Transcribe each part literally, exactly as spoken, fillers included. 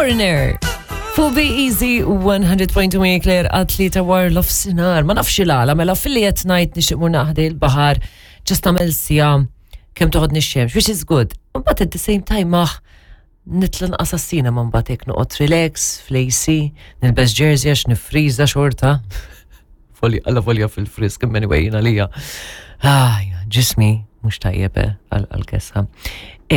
Foreigner. Fuq Be Easy one hundred point two Claire għat-tlieta wara nofsinhar. Ma nafx il-għala, mela filli qed ngħid nixtieq mur ħdejn il-baħar, just nagħmel siegħa kemm toħodni x-xemx, which is good. But at the same time maħ nitla nqas cinema, mbagħad hekk noqgħod relax fl-A C, nilbes jersey għax nifriża xorta. Folja, alla folja fil-frisk, anyway, jiena lija. Ah, ġismi mhux tajjeb eh, għal-kesħa.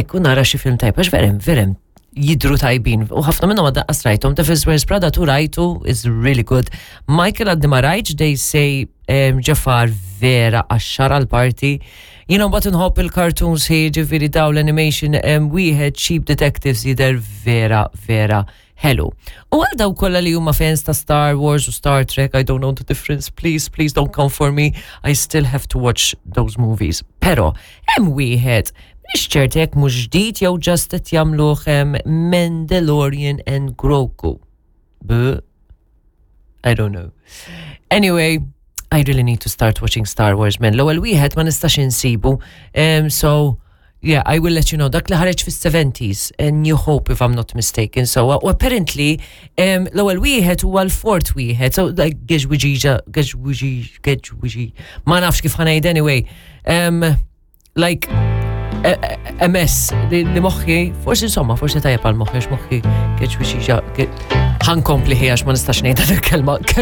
Ekku nara xi film tajjeb, għax verem, verem jidru tajbin. U ħafna minnhom għadda rajthom. Devil Wears Prada tu rajtu is really good. Michael għaddi ma rajtx, they say um, Jafar vera għaxxara l-parti. Jina mbagħad nħobb il-cartoons hi ġifieri daw l-animation um, wieħed Sheep Detectives jidher vera vera ħelu. U għal daw kollha li huma fans ta' Star Wars u Star Trek, I don't know the difference, please, please don't come for me. I still have to watch those movies. Pero, hemm wieħed, mhix ċert jekk mhux ġdid jew just qed jagħmluh Mandalorian and Grogu. B I don't know. Anyway, I really need to start watching Star Wars, man. L-ewwel wieħed ma nistax insibu. Um, so yeah, I will let you know. Dak li ħareġ fis-seventies, and New Hope, if I'm not mistaken. So uh, apparently um, l-ewwel wieħed huwa l-fourth wieħed. So like geġwiġiġa, geġwiġi, geġwiġi. Ma nafx kif ħa ngħid anyway. Um, like M S li, li moħħi, forsi insomma, forsi tajjeb għal moħħi, għax moħħi geġwiġiġa, ħa nkompli ħi għax ma nistax ngħid il-kelma.